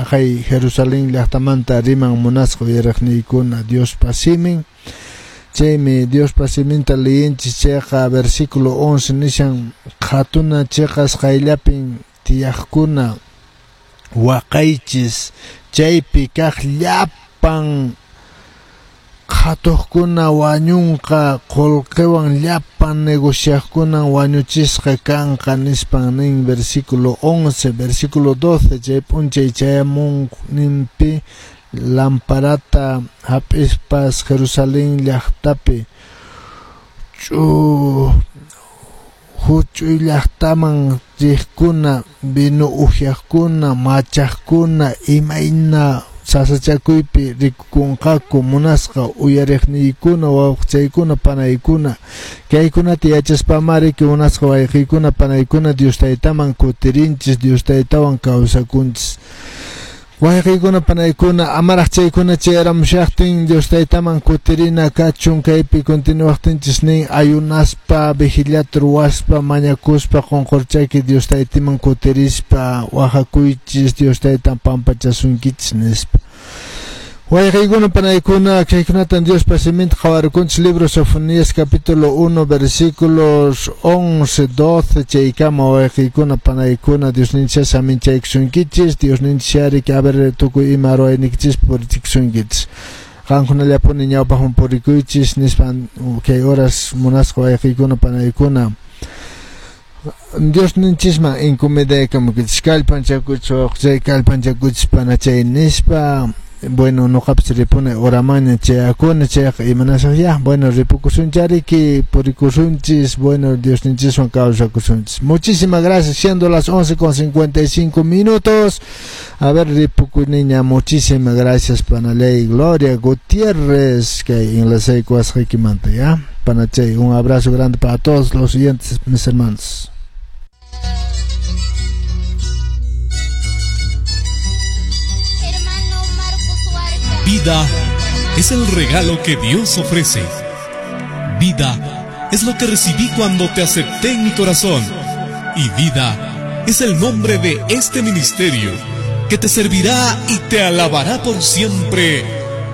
Aqay Jerusalén llaqtamanta riman, munasqa uyariqniykuna, Diospa simin. Chaymi Diospa siminta leyinchis chayqa, versículo 11 nishan: qhatuna cheqas qayllapin tiyaqkuna, waqaychis, chaypi kaq llapan qhatuqkuna wañunqa, qullqiwan llapan negociaqkunan wañuchisqa kanqa, nispan nin versículo 11. Versículo 12: chay p'unchay chayamunninpi lamparata hap'ispas Jerusalén llaqtapi huch'uy llaqtaman riqkuna, vino uhyaqkuna, machaqkuna, imayna sasachakuypi rikukunqaku. Munasqa uyariqniykuna, wawqichaykuna, panaykuna, kaykunata yachaspamari, munasqa wayqiykuna, panaykuna, Dios Taytaman kutirinchis, Dios Taytawan kawsakunchis. Wayqiykuna, panaykuna, amaraq chaykuna chayaramushaqtin Dios Taytaman kutirina kachun. Kaypi continuaqtinchis nin: ayunaspa, vigiliata ruwaspa, mañakuspa, qunqurchaki Dios Taytaman kutirispa waqakuychis, Dios Taytan pampachasunkichis, nispa. Wayqiykuna, panaykuna, kaykunatan Diospa siminta qhawarkunchis, libro Sofonías capítulo 1 versículos 11, 12 chaykama. Wayqiykuna, panaykuna, Diosninchis saminchaykusunkichis, Diosninchis ari, a ver, tukuy ima ruwaynikichis purichikusunkichis, qankunallapuni ñawpaqman purikuychis, nispan kay horas, munasqa wayqiykuna, panaykuna, Diosninchisman encomendaykamukichis. Kallpanchakuychis, wawqichay, kallpanchakuychis, panachay, nispa. Bueno, noqapis ripuni horamaña chayakuni chayqa, imanasaq ya. Bueno, ripukusunchariki, purikusunchis. Bueno, Diosninchiswan kawsakusunchis. Muchísimas gracias, siendo las 11:55 minutos. A ver, ripukuniña. Muchísimas gracias, panaley Gloria Gutiérrez, kay enlazaykuwasqaykimanta ya, panachay. Un abrazo grande para todos los siguientes, mis hermanos. Hermano Marcos Huarca. Vida es el regalo que Dios ofrece. Vida es lo que recibí cuando te acepté en mi corazón. Y vida es el nombre de este ministerio que te servirá y te alabará por siempre.